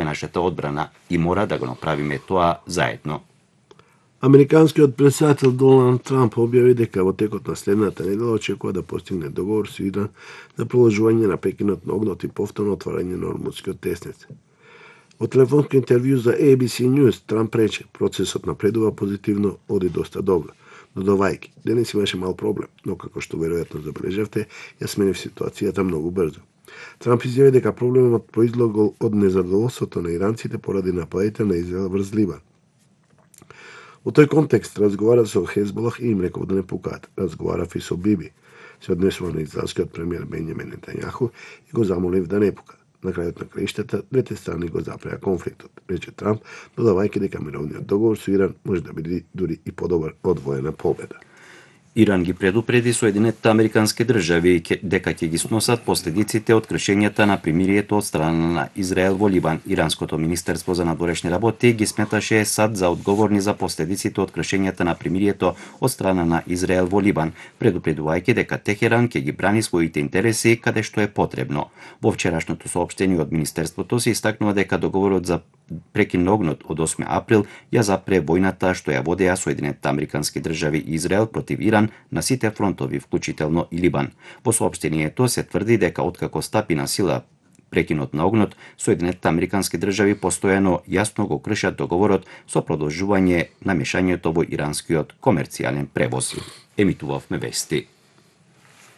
нашата одбрана и мора да го направиме тоа заедно. Американскиот претседател Доналд Трамп објави дека во текот на следната недела очекува да постигне договор со Иран за продолжување на прекинот на огнот и повторно отварање на Ормудскиот тесниц. Во телефонско интервју за ABC News, Трамп рече: процесот напредува позитивно, оди доста добро. Додавајќи: денес имаше мал проблем, но како што веројатно забележавте, ја сменив ситуацијата многу брзо. Трамп изјави дека проблемот произлегол од незадоволството на иранците поради нападите на Израел врз Либан. Во тој контекст разговара со Хезболах и им реков да не пукаат. Разговарав и со Биби, се однесува на израелскиот премиер Бенјамин Нетањаху и го замолив да не пука. На крајот на краиштата, двете страни го запреа конфликтот, рече Трамп, додавајќи дека мировниот договор со Иран може да биде дури и подобар од воена победа. Иран ги предупреди Соединетите Американски држави дека ќе ги сносат последиците од кршењата на примирието од страна на Израел во Либан. Иранското министерство за надворешни работи ги сметаше САД за одговорни за последиците од кршењата на примирието од страна на Израел во Либан, предупредувајќи дека Техеран ќе ги брани своите интереси каде што е потребно. Во вчерашното соопштение од министерството се истакнува дека договорот за прекин на огнот од 8 април ја запре војната што ја водеа Соединетите Американски држави и Израел против Иран на сите фронтови, вклучително и Либан. Во соопштението се тврди дека откако стапи на сила прекинот на огнот, Соединетите Американски држави постојано јасно го кршат договорот со продолжување на мешањето во иранскиот комерцијален превоз. Емитувавме вести.